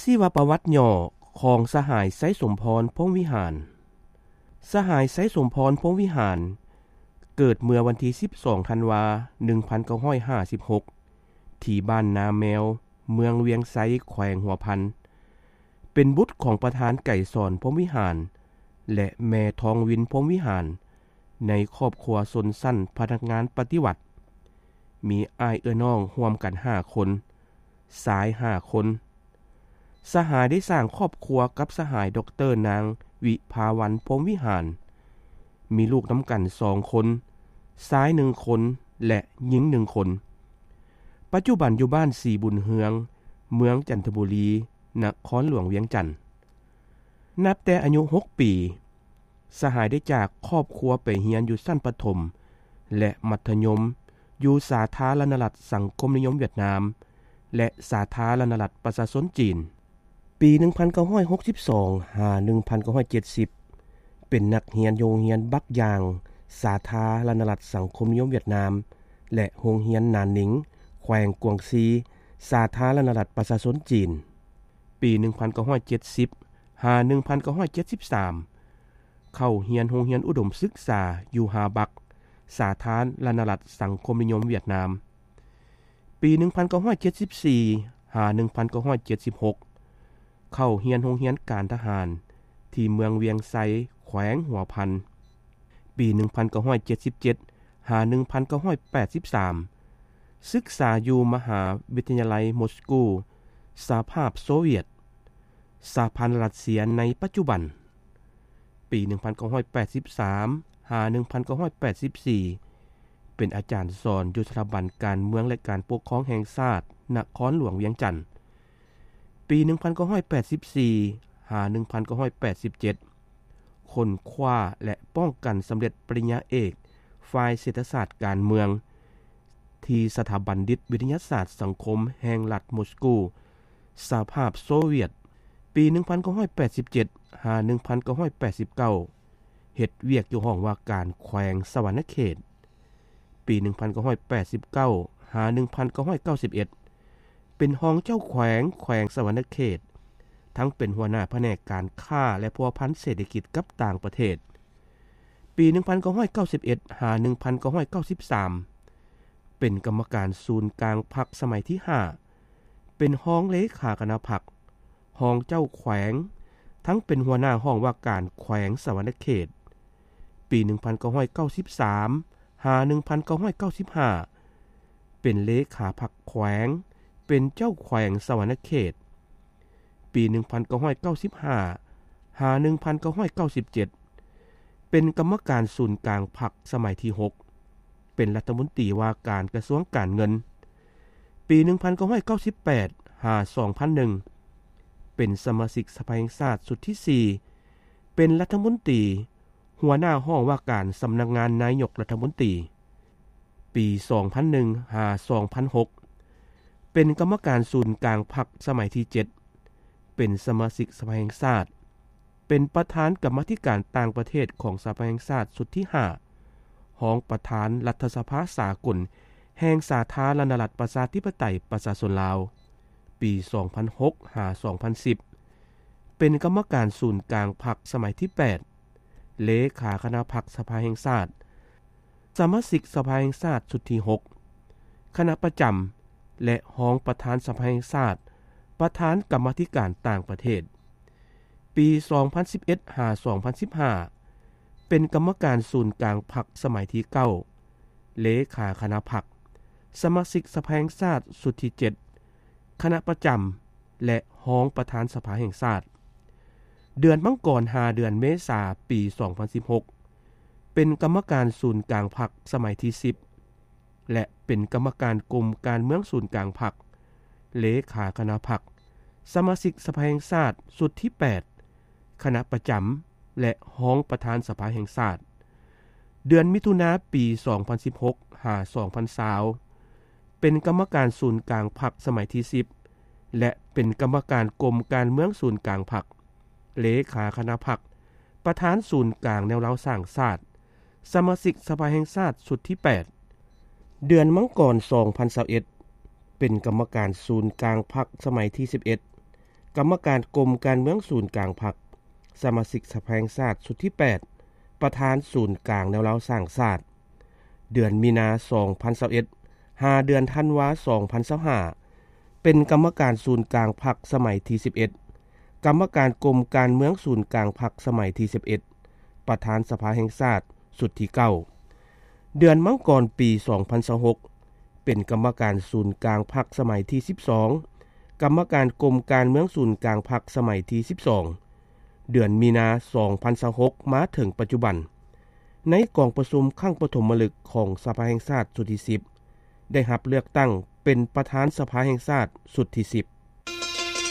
ຊີວະປະຫວັດຫຍໍ້ຂອງສະຫາຍ ໄຊສົມພອນ ພົມວິຫານ. ສະຫາຍ ໄຊສົມພອນ ພົມວິຫານ ເກີດເມື່ອວັນທີສິບສອງ ທັນວາ ໜຶ່ງພັນເກົ້າຮ້ອຍຫ້າສິບຫົກ ທີ່ບ້ານນາແມວ ເມືອງວຽງໄຊ ແຂວງຫົວພັນ, ເປັນບຸດຂອງປະທານໄກສອນ ພົມວິຫານ ແລະ ແມ່ທອງວິນ ພົມວິຫານ ໃນຄອບຄົວຊົນຊັ້ນພະນັກງານປະຕິວັດ, ມີອ້າຍເອື້ອຍນ້ອງຮ່ວມກັນຫ້າຄົນ, ຊາຍຫ້າຄົນ. ສະຫາຍໄດ້ສ້າງຄອບຄົວກັບສະຫາຍ ດອກເຕີ ນາງ ວິພາວັນ ພົມວິຫານ, ມີລູກນຳກັນສອງຄົນ, ຊາຍໜຶ່ງຄົນ ແລະ ຍິງໜຶ່ງຄົນ. ປັດຈຸບັນຢູ່ບ້ານສີບຸນເຮືອງ, ເມືອງຈັນທະບູລີ, ນະຄອນຫຼວງວຽງຈັນ. ນັບແຕ່ອາຍຸຫົກປີ, ສະຫາຍໄດ້ຈາກຄອບຄົວໄປຮຽນຢູ່ຊັ້ນປະຖົມ ແລະ ມັດທະຍົມ ຢູ່ສາທາລະນະລັດສັງຄົມນິຍົມຫວຽດນາມ ແລະ ສາທາລະນະລັດປະຊາຊົນຈີນ. ປີໜຶ່ງພັນເກົ້າຮ້ອຍຫົກສິບສອງ ຫາ ໜຶ່ງພັນເກົ້າຮ້ອຍເຈັດສິບ ເປັນນັກຮຽນຢູ່ໂຮງຮຽນບັກຢາງ ສາທາລະນະລັດສັງຄົມນິຍົມຫວຽດນາມ ແລະ ໂຮງຮຽນໜານນິງ ແຂວງກວາງຊີ ສາທາລະນະລັດປະຊາຊົນຈີນ. ປີໜຶ່ງພັນເກົ້າຮ້ອຍເຈັດສິບ ຫາ ໜຶ່ງພັນເກົ້າຮ້ອຍເຈັດສິບສາມ ເຂົ້າຮຽນໂຮງຮຽນອຸດົມສຶກສາຢູ່ຮາບັກ ສາທາລະນະລັດສັງຄົມນິຍົມຫວຽດນາມ. ປີໜຶ່ງພັນເກົ້າຮ້ອຍເຈັດສິບສີ່ ຫາ ໜຶ່ງພັນເກົ້າຮ້ອຍເຈັດສິບຫົກ ເຂົ້າຮຽນໂຮງຮຽນການທະຫານທີ່ເມືອງວຽງໄຊ ແຂວງຫົວພັນ. ປີໜຶ່ງພັນເກົ້າຮ້ອຍເຈັດສິບເຈັດ ຫາ ໜຶ່ງພັນເກົ້າຮ້ອຍແປດສິບສາມ ສຶກສາຢູ່ມະຫາວິທະຍາໄລມົສກູ ສະຫະພາບໂຊວຽດ, ສະຫະພັນລັດເຊຍໃນປັດຈຸບັນ. ປີໜຶ່ງພັນເກົ້າຮ້ອຍແປດສິບສາມ ຫາ ໜຶ່ງພັນເກົ້າຮ້ອຍແປດສິບສີ່ ເປັນອາຈານສອນຢູ່ສະຖາບັນການເມືອງ ແລະ ການປົກຄອງແຫ່ງຊາດ ນະຄອນຫຼວງວຽງຈັນ. ປີໜຶ່ງພັນເກົ້າຮ້ອຍແປດສິບສີ່ ຫາ ໜຶ່ງພັນເກົ້າຮ້ອຍແປດສິບເຈັດ ຄົ້ນຄວ້າ ແລະ ປ້ອງກັນສຳເລັດປະລິນຍາເອກ ຝ່າຍເສດຖະສາດການເມືອງ ທີ່ສະຖາບັນດິດວິທະຍາສາດສັງຄົມແຫ່ງລັດມົສກູ ສະຫະພາບໂຊວຽດ. ປີໜຶ່ງພັນເກົ້າຮ້ອຍແປດສິບເຈັດ ຫາ ໜຶ່ງພັນເກົ້າຮ້ອຍແປດສິບເກົ້າ ເຮັດວຽກຢູ່ຫ້ອງວ່າການແຂວງສະຫວັນນະເຂດ. ປີໜຶ່ງພັນເກົ້າຮ້ອຍແປດສິບເກົ້າ ຫາ ໜຶ່ງພັນເກົ້າຮ້ອຍເກົ້າສິບເອັດ ເປັນຮອງເຈົ້າແຂວງແຂວງສະຫວັນນະເຂດ, ທັງເປັນຫົວໜ້າພະແນກການຄ້າ ແລະ ພົວພັນເສດຖະກິດກັບຕ່າງປະເທດ. ປີໜຶ່ງພັນເກົ້າຮ້ອຍເກົ້າສິບເອັດ ຫາ ໜຶ່ງພັນເກົ້າຮ້ອຍເກົ້າສິບສາມ ເປັນກຳມະການສູນກາງພັກສະໄໝທີຫ້າ, ເປັນຮອງເລຂາຄະນະພັກ, ຮອງເຈົ້າແຂວງ, ທັງເປັນຫົວໜ້າຫ້ອງວ່າການແຂວງສະຫວັນນະເຂດ. ປີໜຶ່ງພັນເກົ້າຮ້ອຍເກົ້າສິບສາມ ຫາ ໜຶ່ງພັນເກົ້າຮ້ອຍເກົ້າສິບຫ້າ ເປັນເລຂາພັກແຂວງ, ເປັນເຈົ້າແຂວງສະຫວັນນະເຂດ. ປີໜຶ່ງພັນເກົ້າຮ້ອຍເກົ້າສິບຫ້າ ຫາ ໜຶ່ງພັນເກົ້າຮ້ອຍເກົ້າສິບເຈັດ ເປັນກຳມະການສູນກາງພັກສະໄໝທີຫົກ, ເປັນລັດຖະມົນຕີວ່າການກະຊວງການເງິນ. ປີໜຶ່ງພັນເກົ້າຮ້ອຍເກົ້າສິບແປດ ຫາ ສອງພັນໜຶ່ງ ເປັນສະມາຊິກສະພາແຫ່ງຊາດຊຸດທີສີ່, ເປັນລັດຖະມົນຕີ, ຫົວໜ້າຫ້ອງວ່າການສຳນັກງານນາຍົກລັດຖະມົນຕີ. ປີສອງພັນໜຶ່ງ ຫາ ສອງພັນຫົກ ເປັນກຳມະການສູນກາງພັກສະໄໝທີເຈັດ, ເປັນສະມາຊິກສະພາແຫ່ງຊາດ, ເປັນປະທານກຳມາທິການຕ່າງປະເທດຂອງສະພາແຫ່ງຊາດຊຸດທີຫ້າ, ຮອງປະທານລັດຖະສະພາສາກົນແຫ່ງສາທາລະນະລັດປະຊາທິປະໄຕປະຊາຊົນລາວ. ປີສອງພັນຫົກ ຫາ ສອງພັນສິບ ເປັນກຳມະການສູນກາງພັກສະໄໝທີແປດ, ເລຂາຄະນະພັກສະພາແຫ່ງຊາດ, ສະມາຊິກສະພາແຫ່ງຊາດຊຸດທີຫົກ, ຄະນະປະຈຳ ແລະ ຮອງປະທານສະພາແຫ່ງຊາດ, ປະທານກຳມາທິການຕ່າງປະເທດ. ປີສອງພັນສິບເອັດ ຫາ ສອງພັນສິບຫ້າ ເປັນກຳມະການສູນກາງພັກສະໄໝທີເກົ້າ, ເລຂາຄະນະພັກ, ສະມາຊິກສະພາແຫ່ງຊາດຊຸດທີເຈັດ, ຄະນະປະຈຳ ແລະ ຮອງປະທານສະພາແຫ່ງຊາດ. ເດືອນມັງກອນ ຫາ ເດືອນເມສາ ປີສອງພັນສິບຫົກ ເປັນກຳມະການສູນກາງພັກສະໄໝທີສິບ ແລະ ເປັນກຳມະການກົມການເມືອງສູນກາງພັກ, ເລຂາຄະນະພັກ, ສະມາຊິກສະພາແຫ່ງຊາດຊຸດທີແປດ, ຄະນະປະຈຳ ແລະ ຮອງປະທານສະພາແຫ່ງຊາດ. ເດືອນມິຖຸນາ ປີສອງພັນສິບຫົກ ຫາ ສອງພັນຊາວ ເປັນກຳມະການສູນກາງພັກສະໄໝທີສິບ ແລະ ເປັນກຳມະການກົມການເມືອງສູນກາງພັກ, ເລຂາຄະນະພັກ, ປະທານສູນກາງແນວລາວສ້າງຊາດ, ສະມາຊິກສະພາແຫ່ງຊາດຊຸດທີແປດ. ເດືອນມັງກອນ ສອງພັນຊາວເອັດ ເປັນກຳມະການສູນກາງພັກສະໄໝທີສິບເອັດ, ຄ ກຳມະການກົມການເມືອງສູນກາງພັກ, ສະມາຊິກສະພາແຫ່ງຊາດຊຸດທີແປດ, ປະທານສູນກາງແນວລາວສ້າງຊາດ. ເດືອນມີນາ ສອງພັນຊາວເອັດ ຫາເດືອນທັນວາ ສອງພັນຊາວຫ້າ ເປັນກຳມະການສູນກາງພັກສະໄໝທີສິບເອັດ, ກຳມະການກົມການເມືອງສູນກາງພັກສະໄໝທີສິບເອັດ, ປະທານສະພາແຫ່ງຊາດຊຸດທີເກົ້າ. ເດືອນມັງກອນ ປີສອງພັນຊາວຫົກ ເປັນກຳມະການສູນກາງພັກສະໄໝທີສິບສອງ, ກຳມະການກົມການເມືອງສູນກາງພັກສະໄໝທີສິບສອງ. ເດືອນມີນາ ສອງພັນຊາວຫົກ ມາເຖິງປັດຈຸບັນ, ໃນກອງປະຊຸມຄັ້ງປະຖົມມະລຶກຂອງສະພາແຫ່ງຊາດຊຸດທີສິບ ໄດ້ຮັບເລືອກຕັ້ງເປັນປະທານສະພາແຫ່ງຊາດຊຸດທີສິບ.